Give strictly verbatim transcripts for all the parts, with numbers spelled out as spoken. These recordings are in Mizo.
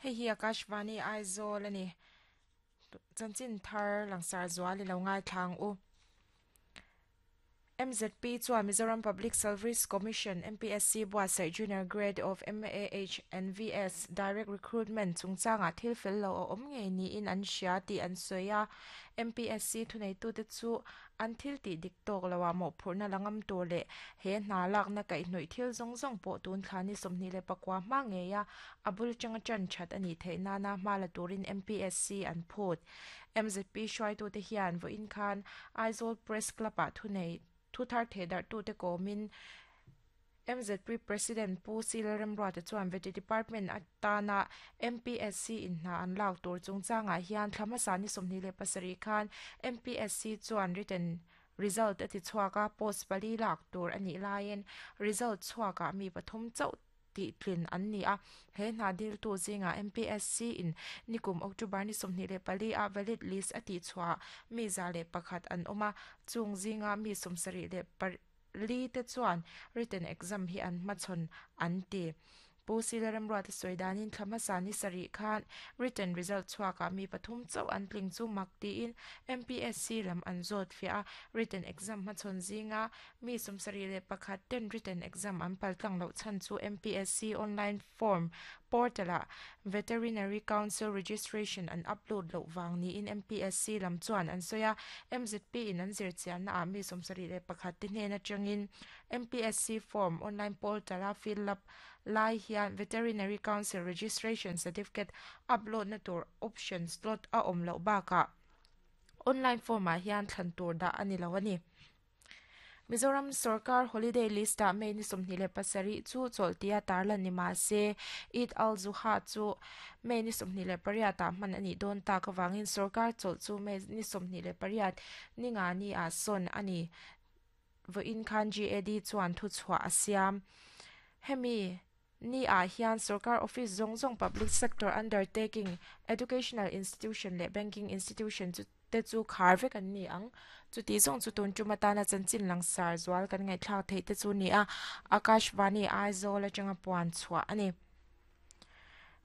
Hei hi Akashvani Aizawl ani chanchin thar langsar zual i lo ngai thlang u. M Z P chuan Mizoram Public Service Commission M P S C buatsaih Junior Grade of M A H and V S Direct Recruitment chungchangah thil fel lo a awm ngei niin an hria tih an sawi a. M P S C thuneitute chu an thil tih dik tawk loah mawhphurhna la ngam tur leh he hna lakna kaihhnawih thil zawng zawng pawh tun thla ni sawmhnih leh pakua hma ngei a a bul atanga tan that a nih theih nana hma la turin M P S C an phut. M Z P hruaitute hian vawiin khan Aizawl Press Club ah thunei thu thar thehdarhtute kawmin M Z P President Pu C Lalremruata chuan Vety Department atana M P S C in hna an lak tur chungchangah hian thla hmasa ni sawmhnih leh pasarih khan M P S C chuan written result a ti chhuak a, post pali lak tur a nih laiin result chhuakah mi pathum chauh tih tlin an ni a. He hna diltu zingah M P S C in nikum October ni sawmhnih leh pali a valid list a tih chhuah mi za leh pakhat an awm a, chung zinga mi sawmsarih leh pali te chuan written exam hi an hmachhawn an ti. Pu C Lalremruata sawi danin thla hmasa ni sarih khan written result chhuakah mi pathum chauh an tling chu mak tiin M P S C lam an zawt fiah a. Written exam hmachhawn zinga mi sawmsarih leh pakhat ten written exam an paltlang loh chhan chu M P S C online form portal ah Veterinary Council registration an upload loh vang niin M P S C lam chuan an sawi a. M Z P in an zir chianna ah mi sawmsarih leh pakhat te hnen atangin M P S C form online portal a fill up lai hian Veterinary Council registration certificate upload na tur option slot a awm loh bakah online form ah hian thlan tur dah a ni lo a ni. Mizoram Sarkar holiday list ah May ni sawmhnih leh pasarih chu chawlhtia tarlan ni mah se Eid al-Zuha chu May ni sawmhnih leh pariat ah hman a nih dawn tak awangin sarkar chawlh chu May ni sawmhnih leh pariat ni nga ni ah sawn a ni. Vawiin khan G A D chuan thu chhuah a siam. Hemi ni ah hian sarkar office zawng zawng, public sector undertaking, educational institution leh banking institution chu te chu khar vek an ni ang. Chuti zawng chu tun tum atana chanchin langsar zual kan ngaihthlak theih te chu ni a. Akashvani Aizawl atanga puan chhuah a ni.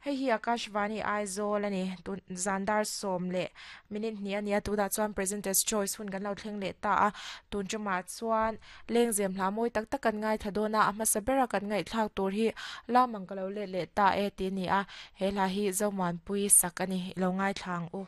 Hei hi Akashvani Aizawl a ni. Tun zandar sawm leh minute hnih a ni a, tunah chuan Presenter's Choice hun kan lo thleng leh ta a. Tun tumah chuan lengzem hla mawi tak tak kan ngaithla dawn a. A hmasa bera kan ngaihthlak tur hi Lamang ka lo let leh ta e ti a ni a. He hla hi Zomuanpui sak a ni. I lo ngaithla ang u.